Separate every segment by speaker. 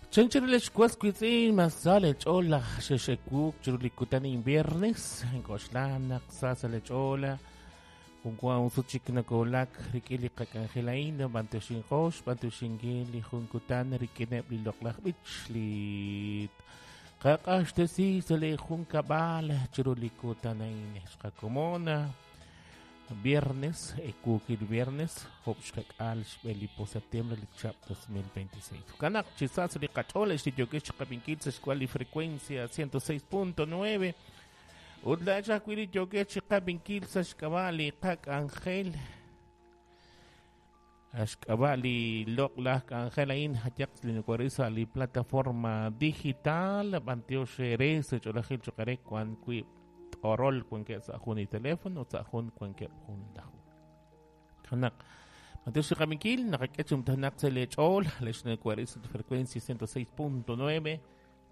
Speaker 1: Chanchiril xwas wiitz'in mas sa leech'ool laj xexewuuk chiru li kutan a'in viernes ink'oxla naq sa sa' leech'ool jun wa jun sut chik nakowulak rik'in li qak'anjel a'in b'antioxinqo xb'antioxinkil li jun kutan rik'ineb' li loq'laj b'ich li qaq'axtesi sa' li junkab'al chiru li kutan a'in xqakomon viernes, ewuukil viernes, job' xkak'aal xb'e li po septiembre li chihab' 2026. Jo'kan naq chi sa' sa' li qach'ool ex li yookex chiqab'inkil sa' xk'wal li frecuencia 106.9 ut laa'ex ajwi' li yookex chiqab'inkil sa' xk'ab'a' li qak'anjel xk'ab'a' li loq'laj k'anjel a'in jayaq li nokoril sa' li plataforma digital b'antiox eere sa' ch'oolejil cho'q eere wan wi' t'orol wankeb' sa' jun li teléfono ut sa' jun wankeb' jun laju. Naq b'antiox li qab'inkil naqak'e chi numtajenaq sa' leech'ool lex nokoril sa' frecuencia 106.9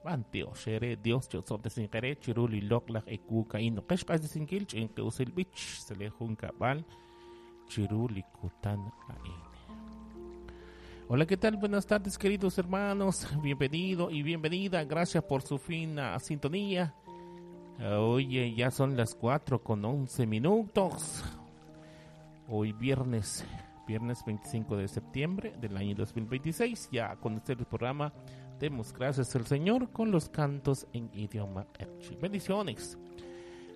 Speaker 1: b'antiox eere Dios cho'osob'tesinq eere chiru li loq'laj ewuuk a'in noqex q'axtesinkil ch'inqi usil b'ich sa' lee junkab'al chiru li kutan a'in. Hola, ¿qué tal? Buenas tardes, queridos hermanos. Bienvenido y bienvenida. Gracias por su fina sintonía. Oye, ya son las 4 con 11 minutos. Hoy viernes, viernes 25 de septiembre del año 2026. Ya con este programa, demos gracias al Señor con los cantos en idioma Q'eqchi. Bendiciones.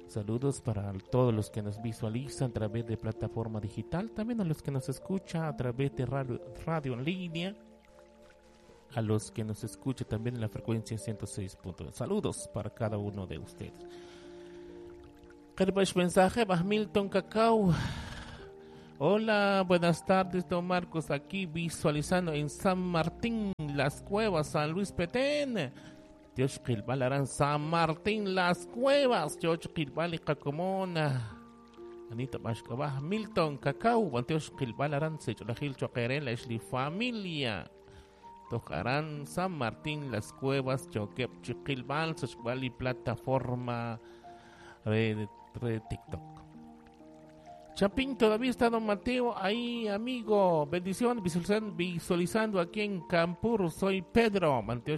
Speaker 1: Saludos para todos los que nos visualizan a través de plataforma digital, también a los que nos escuchan a través de radio en línea, a los que nos escuchan también en la frecuencia 106.9. Saludos para cada uno de ustedes. Mensaje, Milton Cacao. Hola, buenas tardes, don Marcos, aquí visualizando en San Martín, Las Cuevas, San Luis Petén. Dios qilb'al aran San Martín Las Cuevas, Dios qilb'al iqakomona. Anita Bashkabaj, Milton Cacao, Dios qilb'al aran Sech'olajil choqere la li familia. Tojarán San Martín Las Cuevas, Choquep Chiqilb'al, Sech'b'al y plataforma de TikTok. Chapín, todavía está don Mateo ahí, amigo. Bendición, visualizando, visualizando aquí en Campur. Soy Pedro. Mateo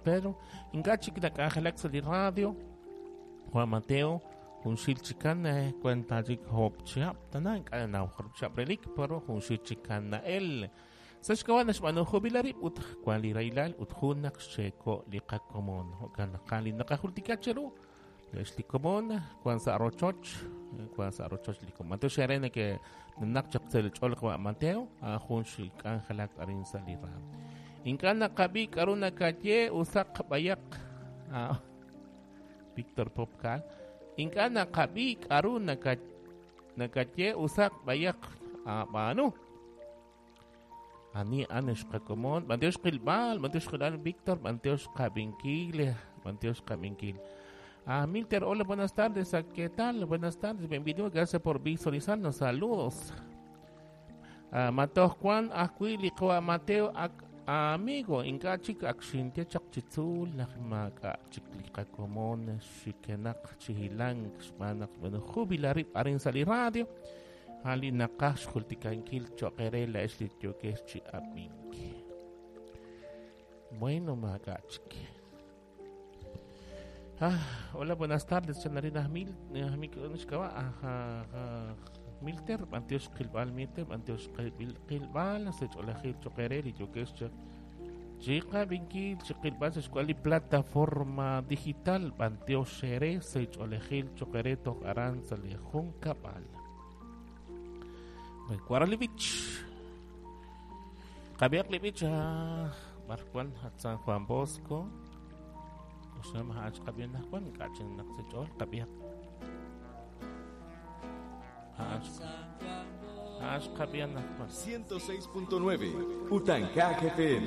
Speaker 1: Pedro. Ingachik nak'anjelak sa li radio. Juan Mateo, junxil chikan cuenta chik hop chihab tana ink'a' naw chihab relik pero junxil chikan na'el. Sa xk'ab'a' naxb'aanu jubilarib ut wan li rahilal ut jun naq xeeko' li qakomon. Jo'kan naq li naqajultika cheru. Lex li komon wan sa' rochoch, wan sa' rochoch li komon. Mateo xerene que naq chaq sa' ch'ol wa Mateo, a jun xik'anjelak arin sa' li raam. Ink'a' naqab'i k'aru nakaye usaq b'ayaq. Víctor Popcal. Ink'a' naqab'i k'aru nakaye usaq b'ayaq ab'aanu. Ani anex qakomon, Mateo xqilb'al, Mateo xqilb'al Víctor, Mateo xqab'inkil, Mateo xqab'inkil. Ah, Milter, hola, buenas tardes. ¿Qué tal? Buenas tardes, bienvenido. Gracias por visualizarnos. Saludos. Ah, Mateo Juan, Acuili, Mateo, amigo, inka chik akxintia chak chitzul, nakmaka chiklika komon, shikenak, chihilang, xmanak, bueno, jubilarip, arin sali radio. Ali nakash jultikankil choquere la esli yokesh chi abinki. Bueno, magachik. Ah, hola, buenas tardes, Chanarina Mil, Milter, Antioch Qilbal, Milter, Antioch Qilbal, Sech'olajil Choqerel y Yokesh Chiqa Binkil, Chiqilbal, Sech'kuali plataforma digital, Antioch Xere, Sech'olajil Choqere, Toj Aran, Salejun Kabal. Cuaralivich. Qabiaq Livich, Marcuan, San Juan Bosco.
Speaker 2: Hash 106.9 Utankak FM.